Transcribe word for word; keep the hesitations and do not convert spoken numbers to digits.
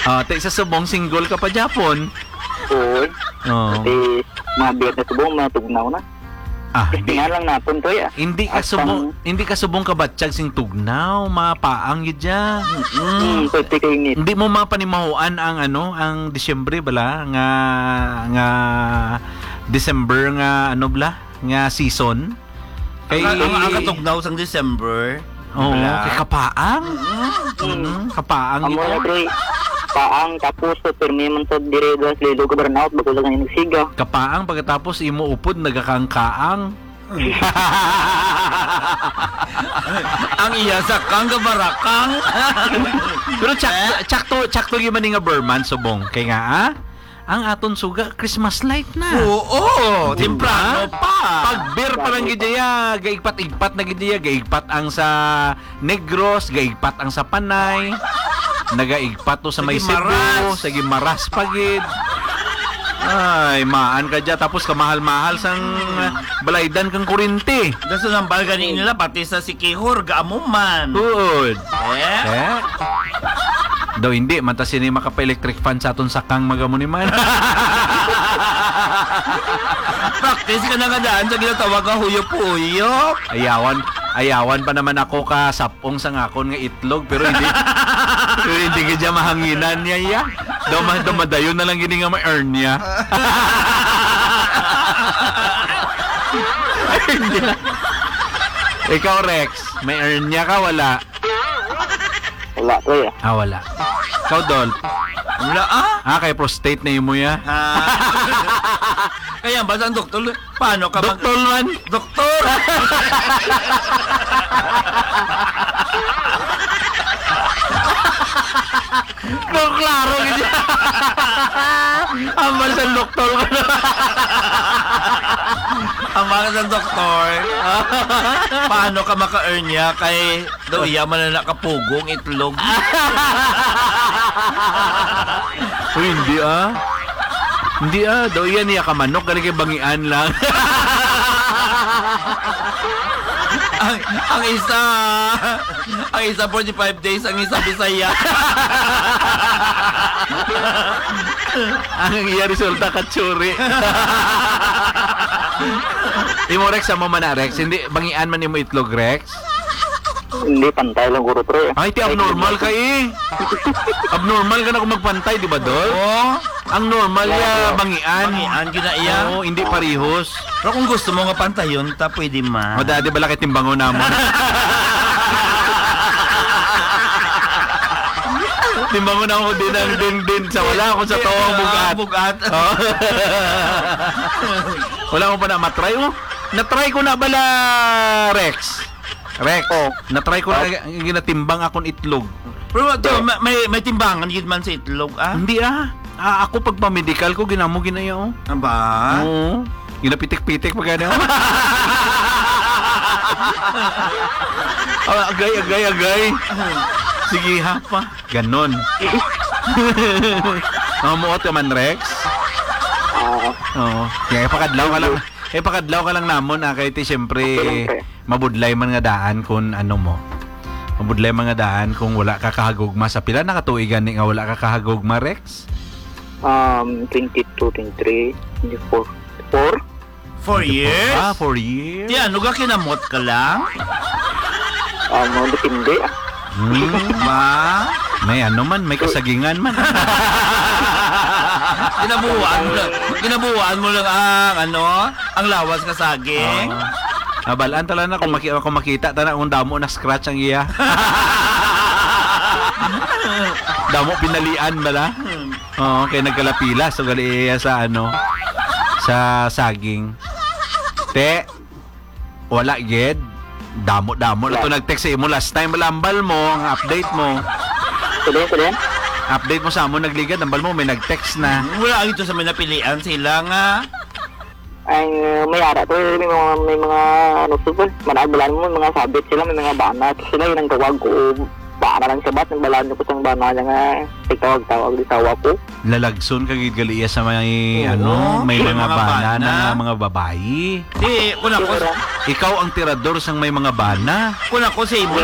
Ah, ti sa subong single ka pa gyapon. Oo. Oo. Kasi mga biyernes subong, mga tugnaw na. Ah, hindi. Testingan lang naton to, ya. Hindi ka At subong, ang hindi ka subong kabatyag sing tugnaw, mapaang gyud siya. Mm, pwede kayo init. Hindi mo mapanimahuan ang ano, ang Disyembre bala nga, nga December nga ano bala, nga season. Kay Ang, ang, ang katugnaw sang December, Oo, bala? Kay kapaang. Mm. Mm, kapaang Amo gid na, yan. Pre. Paang, tapos, so, pirmi man sa dire, das, lilo, ka burnout, bago lang yung nagsiga. Kapaang, pagkatapos, imo upod, nagakangkaang. Ang iya sa kang gabarakang. Pero tsak-, Eh? tsakto, tsakto gyud man ni nga Burman, subong. Kay nga, ah? Ang aton suga, Christmas light na. Oo, Di ba? Temprano pa. Pag beer pa lang gid iya, gaigpat-igpat na gid iya, gaigpat ang sa Negros, gaigpat ang sa Panay, nagaigpat to sa may Sige, Cebu, maras. Sige, maras pa gid. Ay, maan ka dya, tapos kamahal-mahal sang, ah, balaydan kang kuryente. Daso nang balga ni nila, pati sa Sikihor, gaamo man. Good. Eh? Eh? Daw hindi, man ta sini makapa-electric fan sa aton sakang magamo ni man. Practice ka na nga daan sa ginatawag nga huyop-huyop. Ayawan, ayawan pa naman ako ka sapong sa ngakon nga itlog, pero hindi, pero hindi ka dyan mahanginan niya, iya. Daw ma-, daw madayon na lang gini nga may hernia. Ikaw, Rex, may hernia ka, wala? Wala, pre. Ah, wala. Ikaw, Dol? Wala, ah. Ah, kay prostate na imo, ya. Ah. Kaya ba sa doktor, paano ka mag- Doktor man. Doktor! Kung klaro, gid. Ambal sa doktor ko na. Ambal sa doktor. Paano ka maka-earn niya kay Daw iya man na nakapugong itlog. Uy, hindi, ah. Hindi, ah. Daw iya niya ka manok, gali kay bangian lang. Ang, ang isa, ang isa forty-five days, ang isa Bisaya. Ang iya resulta, katsuri. Imo, Rex, amo man na, Rex. Hindi, bangian man imo itlog, Rex? Hindi, pantay lang guro, pre. Ay, ti abnormal ka, eh. Abnormal ka na kung magpantay, di ba, Dol? Oo. Ang normal Wala, ya, bro. Bangian. Bangian, gina iya. Oo, hindi parihos. Pero kung gusto mo nga pantayon, ta pwede man. O, dati bala kay timbangon namon. Timbangon ako din ang din, din. Sa wala ako sa Di, tawang ah, bugat. Bugat. Oh. Wala ko pa na matry, oh. Natry ko na bala, Rex. Rex, Oh. Natry ko na Oh. Ginatimbang akon itlog. Pero to, Oh. may, may, may timbangan gid man sa itlog, ah? Hindi, ah. Ah, ako pagpamedikal ko, ginamo ginaya, oh. Aba? Oo. Ginapitik-pitik pa gani, oh. Ah, agay, agay, agay. Sige, ha, pa. Ganon. Mamuot ka man, Rex? Oo. Oo. Kaya ipakadlaw ka lang. Ipakadlaw ka lang namon, ah, kay ti, siyempre, Okay lang, pre. Mabudlay man nga daan kung ano mo. Mabudlay man nga daan kung wala ka kahagugma. Sa pila na ka tuig gani nga wala ka kahagugma, Rex? Um, twenty-two, twenty-three, twenty-four. Four? Four years? Ah, four years? Ti ano, ga kinamot ka lang? Um, depende, ah. Hmm. Ba? May ano man, may kasagingan man. Ginabuan mo lang, ginabuan mo lang ang, ano, ang lawas nga saging. Ah. Nabalaan tala na kung maki-, kung makita tala kung damo na scratch ang iya. Damo pinalian bala. Hmm. Oo, kay nagkalapila, so gali iya sa ano, sa saging. Te, wala gid. Damo-damo na to Wala. Nag-text sa imo last time, bala, ambal mo, ang update mo. Sige, sige. Update mo sa amo, nagligad, ambal mo, may nag-text na. Wala ito sa may napilian sila nga. Ay, may ara to, may mga, may mga, ano to, Paul? Manabalan mo, may mga sabit sila, may mga bana. Tapos sila, yun ang tawag ko, bana lang sa bat, ang balaan ko sa bana niya nga, tigtawag-tawag, di tawa ko. Lalagson ka gid gali iya sa may, Oo, ano, may may mga mga bana bana. Na nga mga babayi. Di, kung ako, Siguro. Ikaw ang tirador sang may mga bana. Kung ako sa imo,